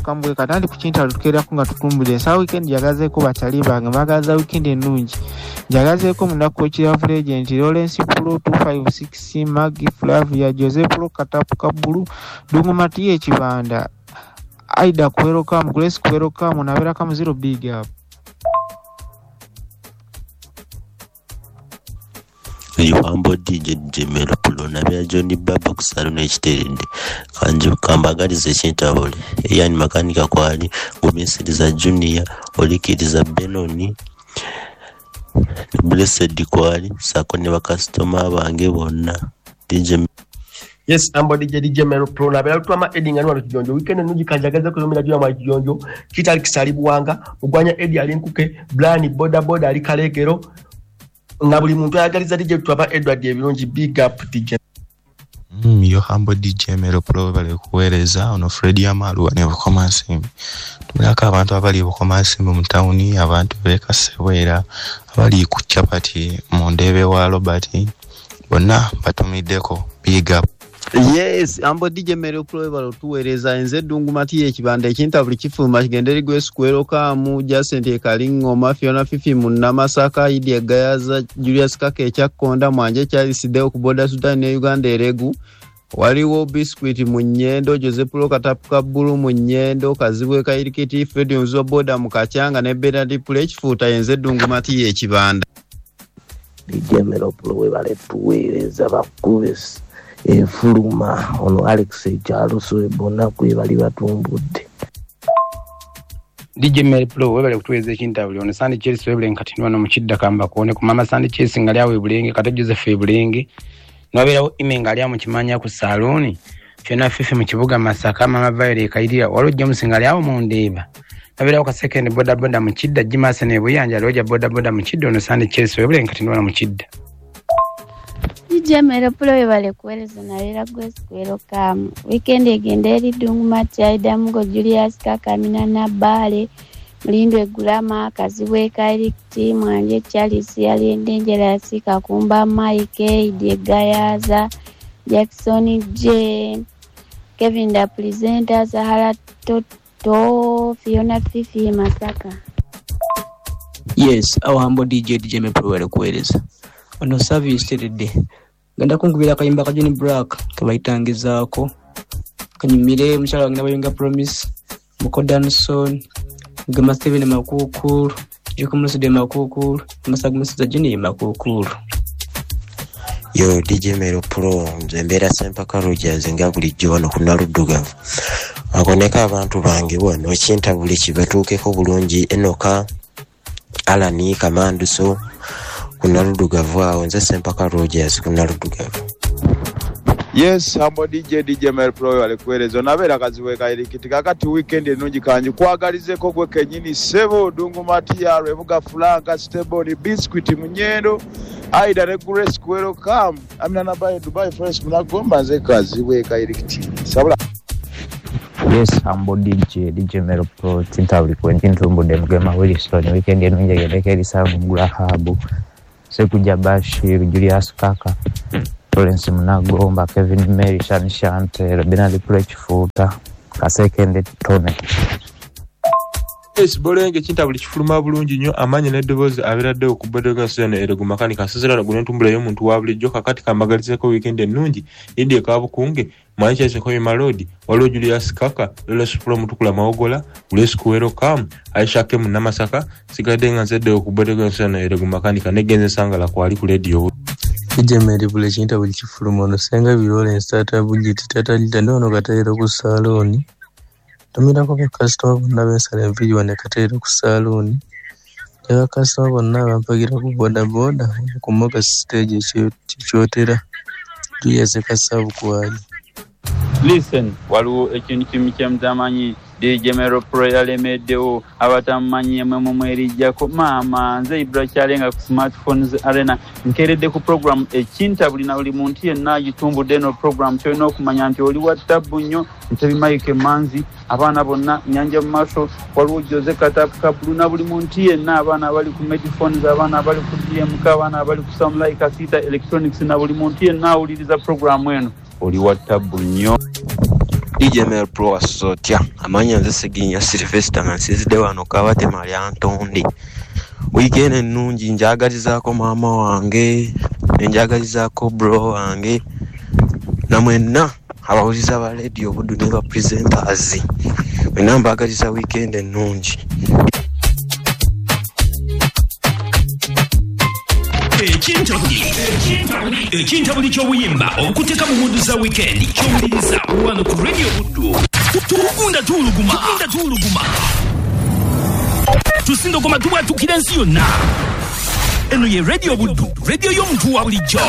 Kambwe katandi ku kinta lutukeerako nga tutumbudde ensawo. Weekend njagazeeko bakyali bange, mbagaza weekend ennungi. Njagazeeko munaku ekiravu legend Lawrence Pro 256, Maggie Flavia, Jose Pro Katapu Kabulu, Dungu Matiye Kibanda, Aida Kuwerokamu, Grace Kuwerokamu, nabeerako zero. Big up. Yuhambo DJ DJ Mero Pro nabya John Baba ku salon ekiteredde kanju kambagalize ekintabule yani makanika kwali gumisiriza Junior olikiriza Benoni Blessed kwali sako ne bakasitoma bange bonna DJ. Yes, ambo DJ DJ Mero Pro na bela tutama Edi ngani wano Kijonjo. Weekend nuji kanjagaza kuzomera juu ya mwa Kijonjo. Kitali kisalibu wanga, Mugwanya Edi alinkuke, Blani boda boda alikalekero. Na buli muntu ayagaliza DJ tutaba Edward Ebirungi, big up DJ. Yo hambo DJ Mero Pro bale kuweereza ono Fred Amaru ne Bukomansimbi. Tumulako abantu abali Bukomansimbi mu tawuni, abantu b'e Kasebwera, abali ku chapati mu Ndebe wa Robert, bonna batumiddeko, big up. Yes, ambo DJ Mero Pro balo tuweereza enze Ddungu Matiye ekibanda ekinta buli kifuluma kigende ligwe square kamu Jacent Kalingoma Fiona Fifi Munnamasaka Idi Gayaza Julius Kake ekyakkonda Mwanje Charles Deo ku boda Sudan ne Uganda eregu waliwo Biscuit mu Nyendo Joseph Pro Katapuka Bulu mu Nyendo Kazibwe Kairikiti Fred Nzo boda mu Kachanga ne Bernard Pule ekifuuta enze Ddungu Matiye ekibanda. DJ Mero Pro webale tuweereza bakubesi efuluma ono Alex Kyaluso bonna kwe bali batumbudde. DJ Mero Pro webale kutuweereza ekintabuli ono Sandy Chelsea webale nkati wano mu Kidda kamba kuone ku mama Sandy Chelsea nga lyawe Bulenge kata Joseph Bulenge nabeerawo ime nga lya mu Kimanya ku Salooni Fiona Fifi mu kibuga Masaka mama Violet Kairira waliwo James nga lyawo mu Ndeeba nabeerawo ka second boda boda mu Kidda Jimase ne Buyanja Roger boda boda mu Kidda ono Sandy Chelsea webale nkati wano mu Kidda. DJ Mero Pro webale kuweereza nabeera Grace Kuwerokamu. Weekend egenda eri Ddungu Mati Aida Mugo Julius Kaka Amina Nabbale Mulindwe Gulama Kazibwe Kairikiti Mwanje Charles Yali Dangerous Kakumba Mike Idi Gayaza Jackson J Kevin da Presenter Zahara Toto Fiona Fifi Masaka. Yes, our humble DJ DJ Mero Pro webale kuweereza ono service teredde genda kunkubira akayimba ka John Black kebayitangizaako kanyumire mukyala wange nabayunga Promise Muko Danson Gema Steven Makukulu Jukumusude Makukulu Masagumusida Junior Makukulu. Yo DJ Mero Pro nze mbeera Sempaka Rogers nga bulijjo wano ku Naluddugavu akoneko abantu bange wano ekintabuli kibatuukeko bulungi Enoka Alani Kamanduso ku Naluddugavu awo nze Sempaka Rogers ku Naluddugavu. Yes, hambo DJ DJ Mero Pro webale kuweereza onabeera Kazibwe Kairikiti kakati weekend ennungi kanji kwagalizeko gwe kennyini ssebo Ddungu Matiya Lwebuga Franka Steboni Biscuit Munyendo Aida ne Grace Kuwerokamu Amina Nabaye Dubai Fresh Munagomba nze Kazibwe Kairikiti sabula. Yes, hambo DJ DJ Mero Pro tintabuli kwentintumbudde Mugema Wilson weekend ennungi egendeko eri Samu Mugulahabu Sekuja Bashir Julius Kaka Lawrence Munagomba Kevin Mary Shan Shante Bernard Pule Kifuuta Kasekende Tone. Yes, Bolenge kintabuli kifuluma bulungi nnyo amaanyi n'eddoboozi abeeraddewo ku boda eno erego makanika asozera guno entumbula y'omuntu wa bulijjo kakati kambagalizeko weekend ennungi Idi Kabukunge Manchester Koyima Road waliwo Julius Kaka Lawrence Pro Mutukula Mawogola Grace Kuwerokamu Aisha K Munnamasaka sigadde nga nzeddewo ku boda eno erego makanika negenze nsangala kwali ku radio. DJ Mero Pro ekintabuli kifuluma ono Senga Lawrence Tata Bujiti Tata Lita ndi wano Kateero ku Salooni tumirako bakasitoma bonna bensala enviiri wano e Kateero ku Salooni ne bakasitoma bonna abampagira ku bodaboda ku Moga stage ekyotera Julius Kasavu kwali. Listen, waliwo ekintu kimu kye mutamanyi DJ Mero Pro yalemeddewo abatamumanyi emwe mumwerijjako maama nze Ibra Kyalenga ku Smartphones Arena nkeredde ku program ekintabuli na buli muntu yenna agitumbudde eno program kyolina okumanya nti oli wa ttabbu nnyo Ntebi Mike Manzi abaana bonna Nyanja mu maaso waliwo Jose Katapuka Bulu na buli muntu yenna abaana abali ku Mediphones abaana abali ku DMK abaana abali ku Samlai Kasita Electronics na buli muntu yenna awuliriza program eno oli wa ttabbu nnyo. DJ Mel Pro wasotya amanya nze Seginya Sylvester nga nsinzidde wano Kabatema lya Ntonde. Weekend ennungi njagalizaako maama wange, nenjagalizaako bro wange namwenna abawuliza ba Radio Buddu ne ba presenters, mwenna mbagaliza weekend ennungi. Ekintabuli ky'obuyimba okuteeka mu muddu za weekend ky'owuliriza wano ku Radio Buddu. Tugunda tuwuluguma, tusindogoma tubwatukira ensi yonna. Eno ye Radio Buddu, radio y'omuntu wa bulijjo.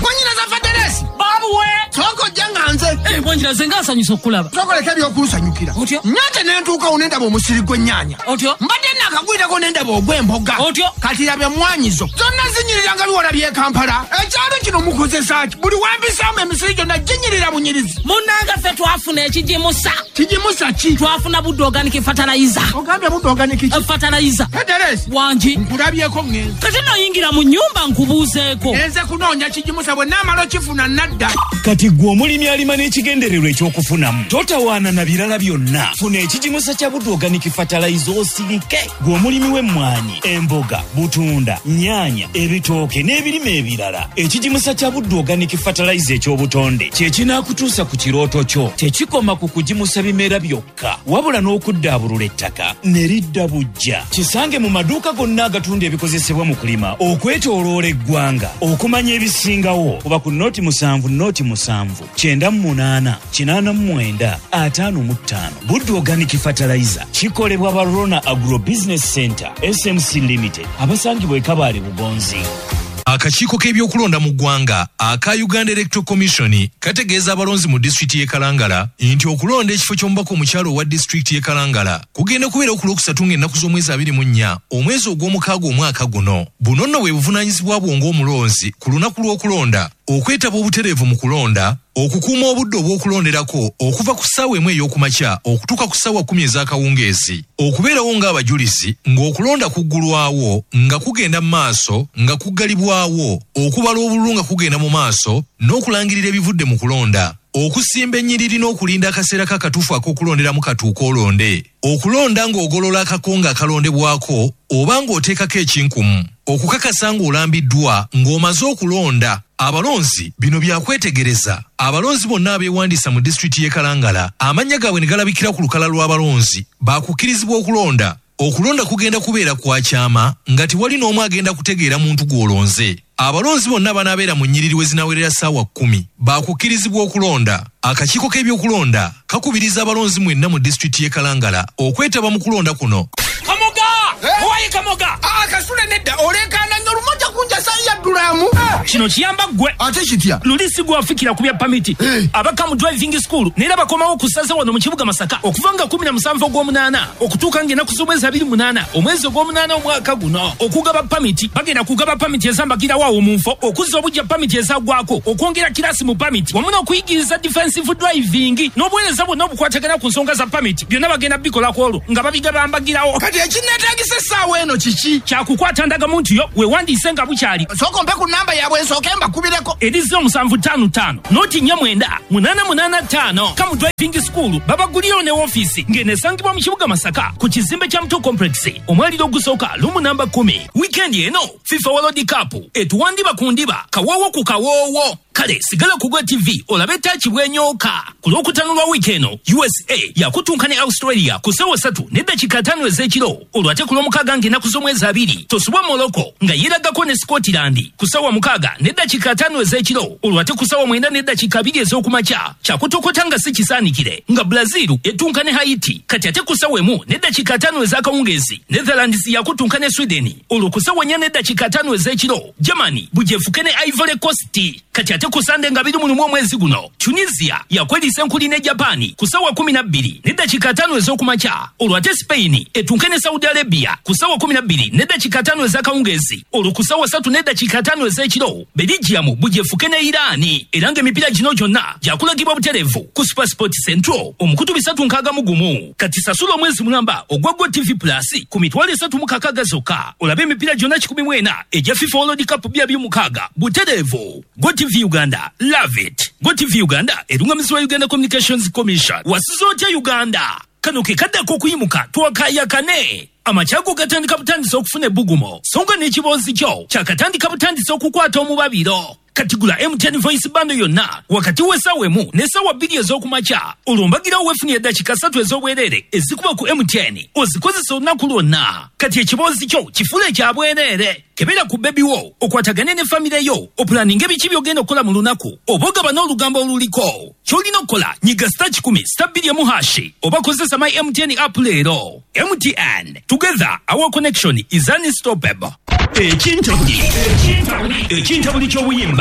Mwanyinaza Faderesi babuwe soko janga nze mwanyinaze nga nsanyusa okulaba soko leka ebyokunsanyukira otyo nyate nentuukawo nendaba omusiri gw'ennyaanya otyo mbadde nakagwirako nendaba ogw'emboga otyo kati laba emmwanyizo zonna zinyirira nga biwala by'e Kampala. Ekyalo kino mukozesa ki? Buli wempisaamu emisiri gyonna ginyirira bunyirizi. Munnange ffe twafuna ekigimusa. Kigimusa ki? Twafuna Buddu Organic Fertilizer. Ogambye Buddu Organic ki? Fertilizer. Faderesi wangi nkulabyeko ŋŋenze. Kati noyingira mu nnyumba nkubuuzeeko. Nze kunoonya kigimusa bwe naamala okifuna nadda. Kati gwe omulimi alima n'ekigendererwa ekyokufunamu totawaana na birala byonna. Funa ekigimusa kya Buddu Organic Fertilizer osirike. Gwe omulimi w'emmwanyi, emboga, butunda, nnyaanya, ebitooke n'ebirime ebirala, ekigimusa kya Buddu Organic Fertilizer eky'obutonde kye kinaakutuusa ku kirooto kyo. Tekikoma ku kugimusa bimera byokka, wabula n'okuddaabulula ettaka ne lidda bujja. Kisange mu maduuka gonna agatunda ebikozesebwa mu kulima okwetooloola eggwanga. Okumanya ebisingawo kuba ku 07 07 98 89 55. Buddu Organic Fertilizer kikolebwa ba Rona Agro Business Center SMC Limited abasangibwa e Kabale Bugonzi. Akakiiko k'ebyokulonda mu ggwanga aka Uganda Electoral Commission kategeeza abalonzi mu disitulikiti y'e Kalangala nti okulonda ekifo ky'omubaka omukyalo owa disitulikiti y'e Kalangala kugenda kubeera ku Lwokusatu ng'ennaku z'omwezi 24 omwezi ogw'omukaaga omwaka guno. Buno nno bwe buvunaanyizibwa bwo ng'omulonzi ku lunaku lw'okulonda, okwetaba obutereevu mu kulonda, okukuuma obudde obw'okulonderako okuva ku ssaawa 1 ey'okumakya okutuuka ku ssaawa 10 ez'akawungeezi, okubeerawo ng'abajulizi ng'okulonda kuggulwawo nga kugenda mu maaso, nga kuggalibwawo, okubala obululu nga kugenda mu maaso n'okulangirira ebivudde mu kulonda, okusimba ennyiriri n'okulinda akaseera k'akatuufu ak'okulonderamu katuuka olonde, okulonda ng'ogolola akakonge akalondebwako oba ng'oteekako ekinkumu, okukakasa ng'olambiddwa ng'omaze okulonda. Abalonzi bino byakwetegereza. Abalonzi bonna abeewandiisa mu disitulikiti y'e Kalangala amannya gaabwe ne galabikira ku lukalala lw'abalonzi baakukkirizibwa okulonda. Okulonda kugenda kubeera kwa kyama nga tewali n'omu agenda kutegeera muntu gw'olonze. Abalonzi bonna banaabeera mu nnyiriri we zinawerera ssaawa 10 baakukkirizibwa okulonda. Akakiiko k'ebyokulonda kakubiriza abalonzi mwenna mu disitulikiti y'e Kalangala okwetaba mu kulonda kuno. Kamoga! Owaye Kamoga! Kasule nedda olekaana nnyo lumoja kunjasa yaddulamu. Kino kiyamba ggwe. Ate kitya? Luli si gwe wafikira ku bya pamiti. Abaka mu driving school neera bakomawo ku ssaza wano mu kibuga Masaka okuva nga 17 ogw'omunaana okutuuka ng'ennaku z'omwezi 28 omwezi ogw'omunaana omwaka guno. Okugaba pamiti bagenda kugaba pamiti ezambagirawo awo mu nfo, okuzza obujja pamiti ezaggwako, okwongera kirasi mu pamiti wamu n'okuyigiriza defensive driving n'obuweereza bwonna obukwatagana ku nsonga za pamiti byonna bagenda bikolako olwo nga babigabambagirawo. Kati ekinneetaagisa essaawa eno kiki? Kyakukwata ndagamuntu yo weewandiise nga bukyali. Sooka ompe ku namba yaabwe nsooke mbakubireko. Eri 0755 49 885. Kamu Driving School babagulirawo ne woofiisi ng'eno esangibwa mu kibuga Masaka ku kizimbe kya Muto Complex omwaliro ogusooka lumu namba 10. Weekend eno FIFA World Cup etuwandiba ku ndiba kawoowo ku kawoowo. Kale sigala ku Gwe TV olabe taaki bwenyooka. Ku Lwokutaano lwa wiiki eno USA yakutunka ne Australia ku ssaawa 3 n'eddakiika 5 ez'ekiro. Olwo ate ku Lwomukaaga ng'ennaku z'omwezi 2 tosubwa Morocco nga yeeragako ne Scotland ku ssaawa 6 n'eddakiika 5 ez'ekiro. Olwo ate ku ssaawa 9 n'eddakiika 2 ez'okumakya kyakutokota nga si kisaanikire nga Brazil etunka ne Haiti. Kati ate ku ssaawa 1 n'eddakiika 5 ez'akawungeezi Netherlands yakutunka ne Sweden. Olwo ku ssaawa 4 n'eddakiika 5 ez'ekiro Germany bujefuke ne Ivory Coast. Kati ate ku Sande nga 21 omwezi guno Tunisia yakweriisa enkuli ne Japan ku ssaawa 12 n'eddakiika 5 ez'okumakya. Olwo ate Spain etunke ne Saudi Arabia ku ssaawa 12 n'eddakiika 5 ez'akawungeezi. Olwo ku ssaawa 3 n'eddakiika eddakiika 5 ez'ekiro, Belgium bujefuke ne Iran, era ng'emipiira gino gyonna gyakulagibwa butereevu ku SuperSport Central omukutu 361. Kati sasula omwezi mulamba ogwa GOtv Plus ku 360,000 zokka olabe emipiira gyonna 104 egya FIFA World Cup 2026 butereevu. GOtv Uganda, love it. GOtv Uganda erungamizibwa Uganda Communications Commission. Wasiza otya Uganda? Kano ke kaddako okuyimuka twakayakane. Amakyago gatandika butandisa okufuna ebbugumo, so nga n'ekiboozi kyo kyakatandika butandisa okukwata omubabiro. Kati gula MTN Voice Bundle yonna wakati w'essaawa 1 n'essaawa 2 ez'okumakya, olwo mbagirawo weefunire eddakiika 3 ez'obwereere ezikuba ku MTN ozikozesa olunaku lwonna. Kati ekiboozi kyo kifuule ekya bwereere. Kebera ku bebi wo, okwatagane ne famire yo, opulaninge biki by'ogenda okukola mu lunaku, oba ogaba n'olugambo oluliko. Ky'olina okukola, nyiga *100 *2 hash oba kozesa my MTN app leero. MTN, together our connection is unstoppable. Ekintabuli, ekintabuli ky'obuyimba.